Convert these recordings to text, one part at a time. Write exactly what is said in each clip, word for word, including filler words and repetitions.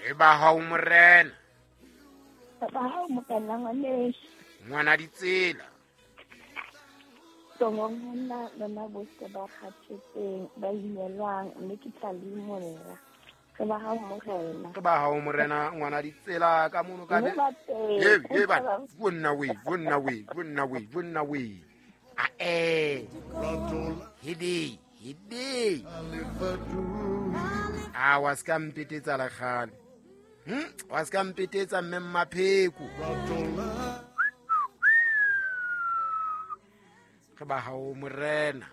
Re ba hao morena. Re ba hao morena ngwaneso. Ngwana ditsela. Tloong ho nna lona bohle ba kgathetseng, ba imelwang, mme ke tla le imolla. Re ba hao morena. Re ba hao morena ngwana ditsela ka mono ka Mme ba teng. Ye, ye ba. Bonna we, bonna we, bonna we, bonna we. A eh. Hede, hede. A wa ska mpetetsa la kgale. Hm, wa ska mpetetsa mme Mmapheko. Re ba hao morena.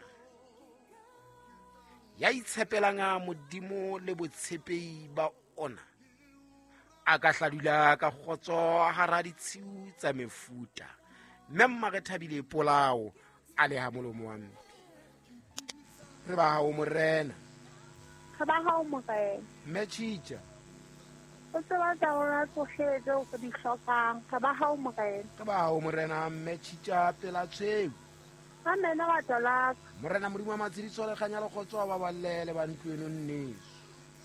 Ya itshepelang a Modimo le botshepehi ba ona. A ka hladula ka kgotso hara ditshiu tsa mefuta. Mme mma re thabile polao a le ha molomo wa mpe. Re ba hao morena. Re ba hao morena. Mme Tjitja. O tseba tsa rona tsohle tseo re di hlokang. Re ba hao morena. Re ba hao morena mme Tjitja pela tshweu. Amen rato la ka. Morena Modimo wa matshediso le kganya le kgotso a ba ballele ba ntlo eno nneso.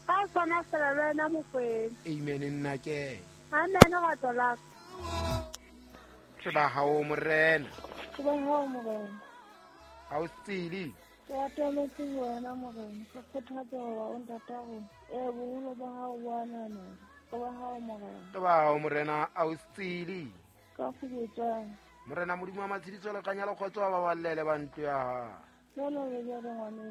Ka sona fela le wena Mokwena. Amen nna ke. Amen rato la ka. Re ba hao morena. Re ba hao morena. Ha o tsile. Ke atametse ho wena morena. Ke kgothatsa hoba o ntata rona. Ee, boholo ba hao bo a ananelwa. Re ba hao morena. Re ba hao morena a o tsile. Ka kgubetsang. Morena Modimo wa matshediso le kganya le kgotso a ba ballele ba ntlo ya hao. Jwalo le jwalo ngwaneso.